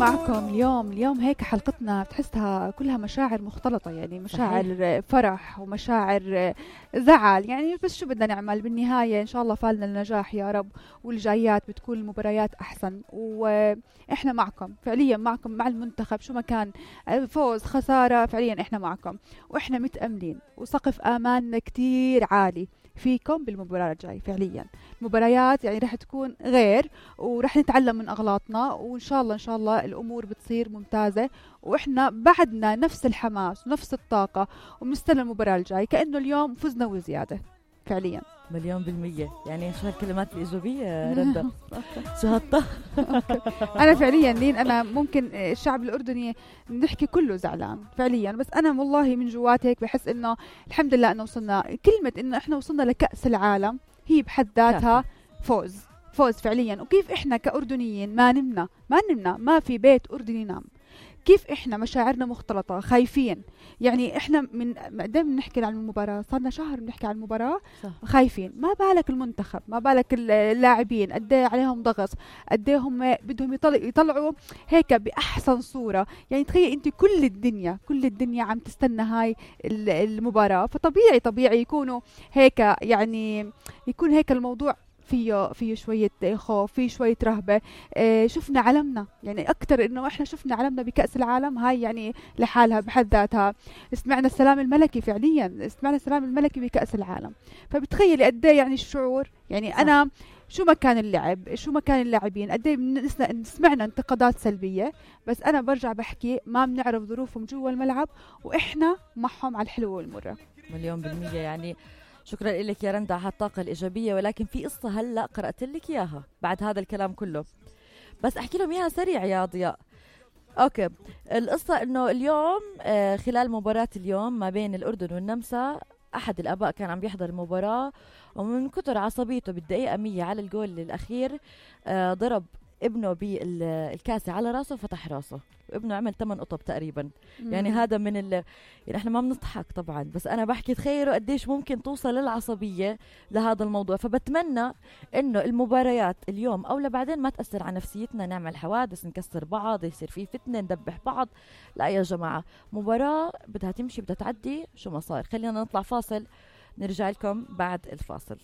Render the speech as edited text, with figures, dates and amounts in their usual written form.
معكم اليوم هيك حلقتنا بتحسها كلها مشاعر مختلطة، يعني مشاعر صحيح. فرح ومشاعر زعل، يعني بس شو بدنا نعمل بالنهاية إن شاء الله فالنا النجاح يا رب، والجايات بتكون المباريات أحسن، وإحنا معكم فعليا، معكم مع المنتخب شو ما كان، فوز خسارة فعليا إحنا معكم، وإحنا متأملين وسقف آمالنا كتير عالي فيكم بالمباراة الجاي. فعليا المباريات يعني رح تكون غير، ورح نتعلم من أغلاطنا، وإن شاء الله الأمور بتصير ممتازة، وإحنا بعدنا نفس الحماس ونفس الطاقة، ومنستنى المباراة الجاي كأنه اليوم فزنا وزيادة. فعليا 100%. يعني شو هالكلمات الإيجابية رندا؟ شو هالطه؟ أنا فعليا لين أنا ممكن الشعب الأردني نحكي كله زعلان فعليا، بس أنا والله من جواتي هيك بحس إنه الحمد لله إنه وصلنا، كلمة إنه إحنا وصلنا لكأس العالم هي بحد ذاتها فوز فعليا. وكيف إحنا كأردنيين ما نمنا ما في بيت أردني ينام، كيف إحنا مشاعرنا مختلطة خايفين، يعني إحنا من قدام نحكي عن المباراة، صارنا شهر بنحكي عن المباراة صح. خايفين، ما بالك المنتخب، ما بالك اللاعبين قد ايه عليهم ضغط، قد ايه هم بدهم يطلعوا هيك بأحسن صورة. يعني تخيل انت كل الدنيا عم تستنى هاي المباراة، فطبيعي يكونوا هيك، يعني يكون هيك الموضوع فيه شوية خوف، فيه شوية رهبة. شفنا علمنا، يعني أكتر إنه إحنا شفنا علمنا بكأس العالم، هاي يعني لحالها بحد ذاتها. سمعنا السلام الملكي، فعليا سمعنا السلام الملكي بكأس العالم، فبتخيلي قد ايه يعني الشعور. يعني أنا شو ما كان اللعب، شو ما كان اللاعبين، قد ايه سمعنا انتقادات سلبية، بس أنا برجع بحكي ما بنعرف ظروفهم جوا الملعب، وإحنا معهم على الحلوة والمرة. 100%. يعني شكرا لك يا رندا على هالطاقة الإيجابية، ولكن في قصة هلأ قرأت لك إياها بعد هذا الكلام كله، بس أحكي لهم إياها سريع يا ضياء. أوكي، القصة إنه اليوم خلال مباراة اليوم ما بين الأردن والنمسا، أحد الآباء كان عم بيحضر المباراة، ومن كتر عصبيته بالدقيقة 100 على الجول الأخير ضرب ابنه بالكاسة على راسه وفتح راسه، وابنه عمل 8 قطب تقريبا. يعني هذا من يعني احنا ما بنضحك طبعا، بس انا بحكي تخيلوا قديش ممكن توصل للعصبية لهذا الموضوع. فبتمنى انه المباريات اليوم او لبعدين ما تأثر على نفسيتنا، نعمل حوادث، نكسر بعض، يصير في فتنة، ندبح بعض. لا يا جماعة، مباراة بدها تمشي، بدها تعدي شو ما صار. خلينا نطلع فاصل، نرجع لكم بعد الفاصل.